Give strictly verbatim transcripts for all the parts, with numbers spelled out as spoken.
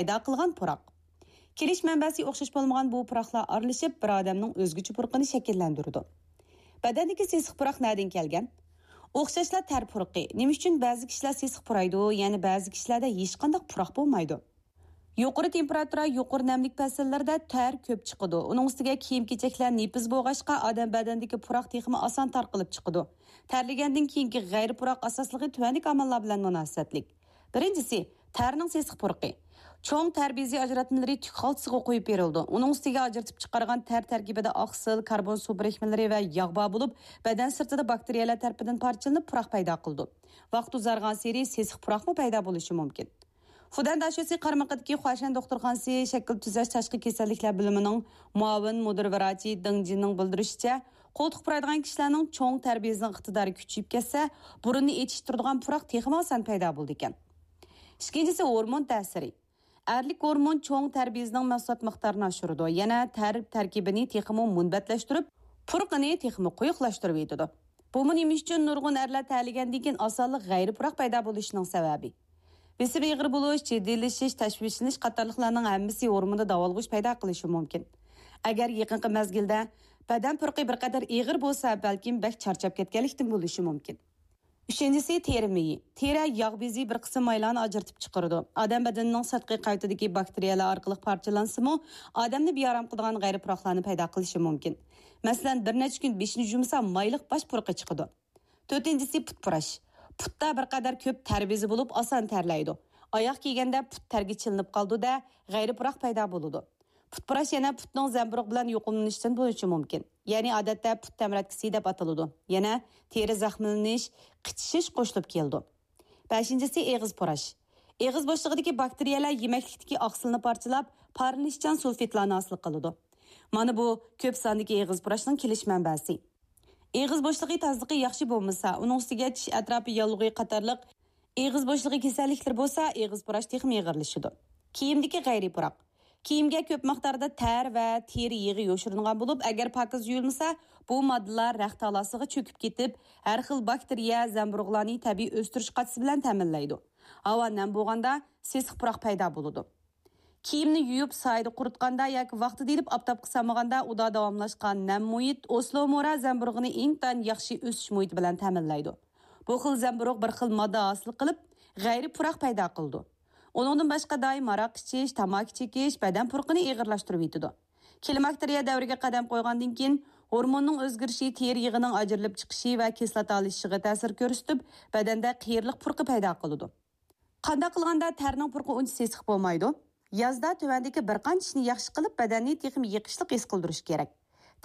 پەيدا قىلغان پۇراق. كېلىش مەنبەسى ئوخشاش بولمىغان بۇ پۇراقلار ئارىلىشىپ، بىر ئادەمنىڭ ئۆزگىچە پۇرىقىنى شەكىللەندۈرىدۇ. بەدەندىكى سېسىق پۇراق نەدىن كەلگەن؟ ئوخشاشلا تەر پۇرىقى. نېمە ئۈچۈن بەزى كىشىلەر سېسىق پۇرايدۇ، يەنە بەزى كىشىلەردە ھېچقانداق پۇراق بولمايدۇ؟ يۇقىرى تېمپېراتۇرا، يۇقىرى نەملىك پەسىللىرىدە تەر كۆپ چىقىدۇ. ئۇنىڭ ئۈستىگە كىيىم-كېچەكلەر نېپىز بولغاچقا، ئادەم بەدەندىكى پۇراق تېخىمۇ ئاسان تارقىلىپ چىقىدۇ. تەرلىگەندىن كېيىنكى غەيرىي پۇراق ئاساسلىقى تۆۋەندىكى ئامىللار بىلەن مۇناسىۋەتلىك. بىرىنچىسى، تەرنىڭ سېسىق پۇرىقى. چوڭ تەر بېزى ئاجراتمىلىرى تۈك خالتىسىغا قويۇپ بېرىلىدۇ. ئۇنىڭ ئۈستىگە ئاجرىتىپ چىقارغان تەر تەركىبىدە ئاقسىل، كاربون سۇ بىرىكمىلىرى ۋە ياغ بار بولۇپ، بەدەن سىرتىدا باكتېرىيەلەر تەرىپىدىن پارچىلىنىپ پۇراق پەيدا قىلىدۇ. ۋاقىت ئۇزارغانسېرى سېسىق پۇراقمۇ پەيدا بولۇشى مۇمكىن. فۇدەن داشۆسى قارمىقىدىكى خۇاشەن دوختۇرخانىسى شەكىل تۈزەش تاشقى كېسەللىكلەر بۆلۈمىنىڭ مۇئاۋىن مۇدىر ۋىراچى دېڭ جىننىڭ بىلدۈرۈشىچە، قولتۇق پۇرايدىغان كىشىلەرنىڭ چوڭ تەر بېزىنىڭ ئىقتىدارى كۈچىيىپ كەتسە، بۇرۇننى ئېچىشتۇرىدىغان پۇراق تېخىمۇ ئاسان پەيدا بولىدىكەن. ئىككىنچىسى، ھورمون تەسىرى. ئەرلىك ھورمون چوڭ تەر بېزىنىڭ مەھسۇلات مىقدارىنى ئاشۇرىدۇ، يەنە تەر تەركىبىنى تېخىمۇ مۇنبەتلەشتۈرۈپ، پۇرىقىنى تېخىمۇ قويۇقلاشتۇرۇۋېتىدۇ. بۇمۇ نېمە ئۈچۈن نۇرغۇن ئەرلەر تەرلىگەندىن كېيىن ئاسانلا غەيرىي پۇراق پەيدا بولۇشىنىڭ سەۋەبى؟ بېسىم ئېغىر بولۇش، جىددىيلىشىش، تەشۋىشلىنىش قاتارلىقلارنىڭ ھەممىسى ھورموندا داۋالغۇش پەيدا قىلىشى مۇمكىن. ئەگەر يېقىنقى مەزگىلدە بەدەن پۇرىقى بىر قەدەر ئېغىر بولسا، بەلكىم بەك چارچاپ كەتكەنلىكتىن بولۇشى مۇمكن. ئۈچىنچىسى، تېرە مېيى. تېرە ياغ بېزى بىر قىسىم مايلارنى ئاجرىتىپ چىقىرىدۇ. ئادەم بەدىنىنىڭ سىرتقى قەۋىتىدىكى باكتېرىيەلەر ئارقىلىق پارچىلانسىمۇ، ئادەمنى بىئارام قىلىدىغان غەيرىي پۇراقلارنى پەيدا قىلىشى مۇمكىن. مەسىلەن، بىر نەچچە كۈن بېشىنى يۇمسا، مايلىق باش پۇرىقى چىقىدۇ. تۆتىنچىسى، پۇت پۇراش. پۇتتا بىر قەدەر كۆپ تەر بېزى بولۇپ، ئاسان تەرلەيدۇ. ئاياغ كىيگەندە پۇت تەرگە چىلىنىپ قالىدۇ-دە، غەيرىي پۇراق پەيدا بولىدۇ. پۇت پۇراش يەنە پۇتنىڭ زەمبۇرۇغ بىلەن يۇقۇملىنىشتىن بولۇشى مۇمكىن. يەنى ئادەتتە پۇت تەمرەتكىسى دەپ ئاتىلىدۇ. يەنە تېرە زەخىملىنىش، قىچىشىش قوشۇلۇپ كېلىدۇ. بەشىنچىسى، ئېغىز پۇراش. ئېغىز بوشلۇقىدىكى باكتېرىيەلەر يېمەكلىكتىكى ئاقسىلنى پارچىلاپ، پارلىنىشچان سۇلفىدلارنى ھاسىل قىلىدۇ. مانا بۇ كۆپ ساندىكى ئېغىز پۇراشنىڭ كېلىش مەنبەسى. ئېغىز بوشلۇقى تازىلىقى ياخشى بولمىسا، ئۇنىڭ ئۈستىگە چىش ئەتراپى ياللۇغى قاتارلىق ئېغىز بوشلۇقى كېسەللىكلىرى بولسا، ئېغىز پۇراش تېخىمۇ ئېغىرلىشىدۇ. كىيىمدىكى غەيرىي پۇراق. كىيىمگە كۆپ مىقداردا تەر ۋە تېرە يېغى يوشۇرۇنغان بولۇپ، ئەگەر پاكىز يۇيۇلمىسا، بۇ ماددىلار رەخت تالاسىغا چۆكۈپ كېتىپ، ھەر خىل باكتېرىيە، زەمبۇرۇغلارنى تەبىئىي ئۆستۈرۈش قاچىسى بىلەن تەمىنلەيدۇ. ھاۋا نەم بولغاندا، سېسىق پۇراق پەيدا بولىدۇ. كىيىمنى يۇيۇپ، سايىدا قۇرۇتقاندا ياكى ۋاقتىدا ئېلىپ ئاپتاپقا سالمىغاندا، ئۇدا داۋاملاشقان نەم مۇھىت ئوسلومورا زەمبۇرۇغىنى ئىنتايىن ياخشى ئۆسۈش مۇھىتى بىلەن تەمىنلەيدۇ. بۇ خىل زەمبۇرۇغ بىر خىل ماددا ھاسىل قىلىپ، غەيرىي پۇراق پەيدا قىلىدۇ. ئۇنىڭدىن باشقا، دائىم ھاراق ئىچىش، تاماكا چېكىش بەدەن پۇرىقىنى ئېغىرلاشتۇرۇۋېتىدۇ. كلىماكتېرىيە دەۋرىگە قەدەم قويغاندىن كېيىن، ھورموننىڭ ئۆزگىرىشى تېرە يېغىنىڭ ئاجرىلىپ چىقىشى ۋە كىسلاتالىشىشىغا تەسىر كۆرسىتىپ، بەدەندە قېرىلىق پۇرىقى پەيدا قىلىدۇ. قانداق قىلغاندا تەرنىڭ پۇرىقى ئۇنچە سېسىق بولمايدۇ؟ يازدا تۆۋەندىكى بىر قانچە ئىشنى ياخشى قىلىپ، بەدەننى تېخىمۇ يېقىشلىق ھېس قىلدۇرۇش كېرەك.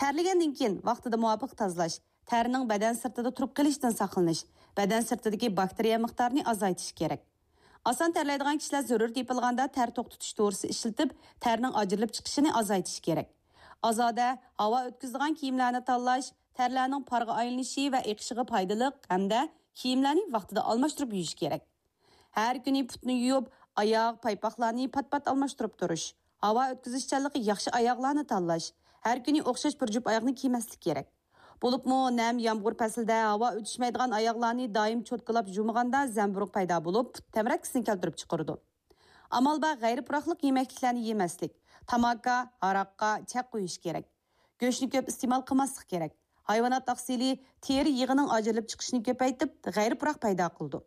تەرلىگەندىن كېيىن ۋاقتىدا مۇۋاپىق تازىلاش، تەرنىڭ بەدەن سىرتىدا تۇرۇپ قېلىشىدىن ساقلىنىش، بەدەن سىرتىدىكى باكتېرىيە مىقدارىنى ئازايتىش كېرەك. ئاسان تەرلەيدىغان كىشىلەر زۆرۈر تېپىلغاندا تەر توختىتىش دورىسى ئىشلىتىپ، تەرنىڭ ئاجرىلىپ چىقىشىنى ئازايتىش كېرەك. ئازادە ھاۋا ئۆتكۈزىدىغان كىيىملەرنى تاللاش، تەرلەرنىڭ پارغا ئايلىنىشى ۋە ئېقىشىغا پايدىلىق ھەمدە كىيىملەرنى ۋاقتىدا ئالماشتۇرۇپ يۇيۇش كېرەك. ھەر كۈنى پۇتنى يۇيۇپ، ئاياغ، پايپاقلارنى پات-پات ئالماشتۇرۇپ تۇرۇش، ھاۋا ئۆتكۈزۈشچانلىقى ياخشى ئاياغلارنى تاللاش، ھەر كۈنى ئوخشاش بىر جۈپ ئاياغنى كىيمەسلىك كېرەك. بولۇپمۇ نەم يامغۇر پەسلىدە ھاۋا ئۆتۈشمەيدىغان ئاياغلارنى دائىم چوتكىلاپ يۇمىغاندا زەمبۇرۇغ پەيدا بولۇپ، پۇت تەمرەتكىسىنى كەلتۈرۈپ چىقىرىدۇ. ئامال بار غەيرىي پۇراقلىق يېمەكلىكلەرنى يېمەسلىك، تاماكا، ھاراققا چەك قويۇش كېرەك. گۆشنى كۆپ ئىستېمال قىلماسلىق كېرەك. ھايۋانات ئاقسىلى تېرە يېغىنىڭ ئاجرىلىپ چىقىشىنى كۆپەيتىپ، غەيرىي پۇراق پەيدا قىلىدۇ.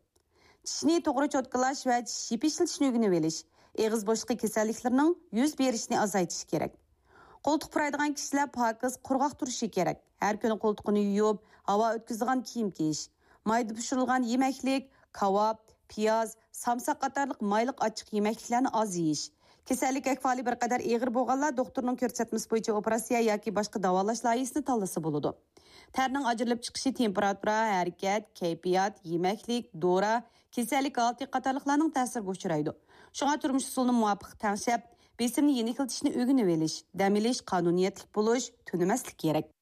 چىشنى توغرا چوتكىلاش ۋە چىش يېپىشلىتىشنى ئۆگىنىۋېلىش، ئېغىز بوشلۇقى كېسەللىكلىرىنىڭ يۈز بېرىشىنى ئازايتىشى كېرەك. قولتۇق پۇرايدىغان كىشىلەر پاكىز، قۇرغاق تۇرۇشى كېرەك. ھەر كۈنى قولتۇقىنى يۇيۇپ، ھاۋا ئۆتكۈزىدىغان كىيىم كىيىش، مايدا پىشۇرۇلغان يېمەكلىك، كاۋاپ، پىياز، سامساق قاتارلىق مايلىق ئاچچىق يېمەكلىكلەرنى ئاز يېيىش. كېسەللىك ئەھۋالى بىر قەدەر ئېغىر بولغانلار دوختۇرنىڭ كۆرسەتمىسى بويىچە ئوپېراتسىيە ياكى باشقا داۋالاش لايىھىسىنى تاللىسا بولىدۇ. تەرنىڭ ئاجرىلىپ چىقىشى تېمپېراتۇرا، ھەرىكەت، كەيپىيات، يېمەكلىك، دورا، كېسەللىك ھالىتى قاتارلىقلارنىڭ تەسىرىگە ئۇچرايدۇ. شۇڭا تۇرمۇش ئۇسۇلىنى مۇۋاپىق تەڭشەپ، بېسىمنى يېنىكلىتىشنى ئۆگىنىۋېلىش، دەم ئېلىش، قانۇنىيەتلىك بولۇش، تۈنىمەسلىك كېرەك.